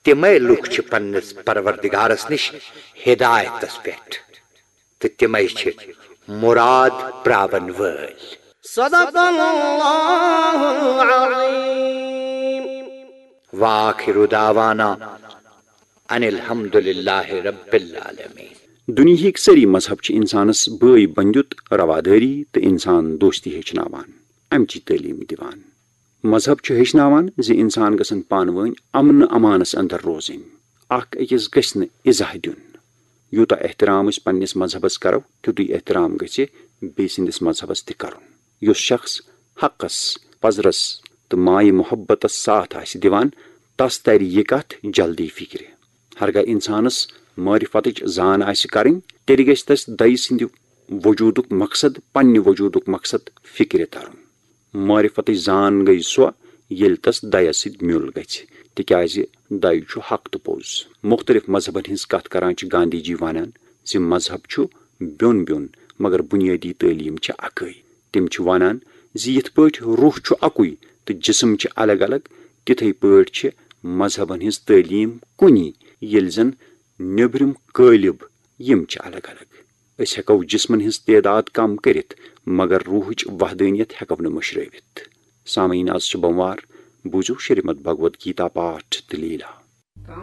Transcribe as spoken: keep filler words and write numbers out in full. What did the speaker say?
تِمے لوٗکھ چھِ پننِس پروردگارس نِش ہدایتس پٮ۪ٹھ، تہٕ تِمے چھِ مراد پراون وٲلۍ۔ صدق اللہ العظیم۔ وآخر دعوانا ان الحمد للہ رب العالمین۔ دُنیہٕکۍ سٲری مذہب چھِ انسانس بٲے بندیُت، روادٲری تہٕ انسان دوستی ہیٚچھناوان، امچی تعلیٖم دِوان۔ مذہب چھُ ہیٚچھناوان زِ انسان گژھن پانہٕ وٲنۍ امن امانس اندر روزٕنۍ، اکھ أکِس گژھِ نہٕ اِزاہ دیُن۔ یوٗتاہ احترام أسۍ پننِس مذہبس کرو، تیُتُے احترام گژھِ بیٚیہِ سٕنٛدِس مذہبس تہِ کرُن۔ یُس شخص حقس، پزرس تہٕ مایہِ محبتس ساتھ آسہِ دِوان، تس ترِ یہِ کتھ جلدی فکرِ۔ ہرگاہ انسانس معرفتٕچ زان آسہِ کرٕنۍ، تیٚلہِ گژھِ تس دَیہِ سٕنٛدِ وجودُک مقصد، پننہِ وجودُک مقصد فکرِ ترُن۔ معرفتٕچ زان گٔیہِ سۄ، ییٚلہِ تس دَیس سۭتۍ میُل گژھِ، تِکیازِ دَے چھُ حق تہٕ پوٚز۔ مُختٔلِف مذہبن ہٕنٛز کتھ کران چھِ گاندھی جی ونان زِ مذہب چھُ بیوٚن بیوٚن، مگر بُنیٲدی تعلیٖم چھِ اکٕے۔ تِم چھِ ونان زِ یِتھ پٲٹھۍ روح چھُ اکُے تہٕ جسم چھِ الگ الگ، تِتھے پٲٹھۍ چھِ مذہبن ہٕنٛز تعلیٖم کُنی، ییٚلہِ زن نیٚبرِم قٲلب یِم چھِ الگ الگ۔ أسۍ ہٮ۪کو جسمن ہٕنٛز تعداد کم کٔرِتھ، مگر روحٕچ وحدٲنیت ہٮ۪کو نہٕ مٔشرٲوِتھ۔ سامعیٖن، از چھِ بوموار، بوٗزِو شریمد بھگوت گیتا پاٹھ تہٕ لیٖلا۔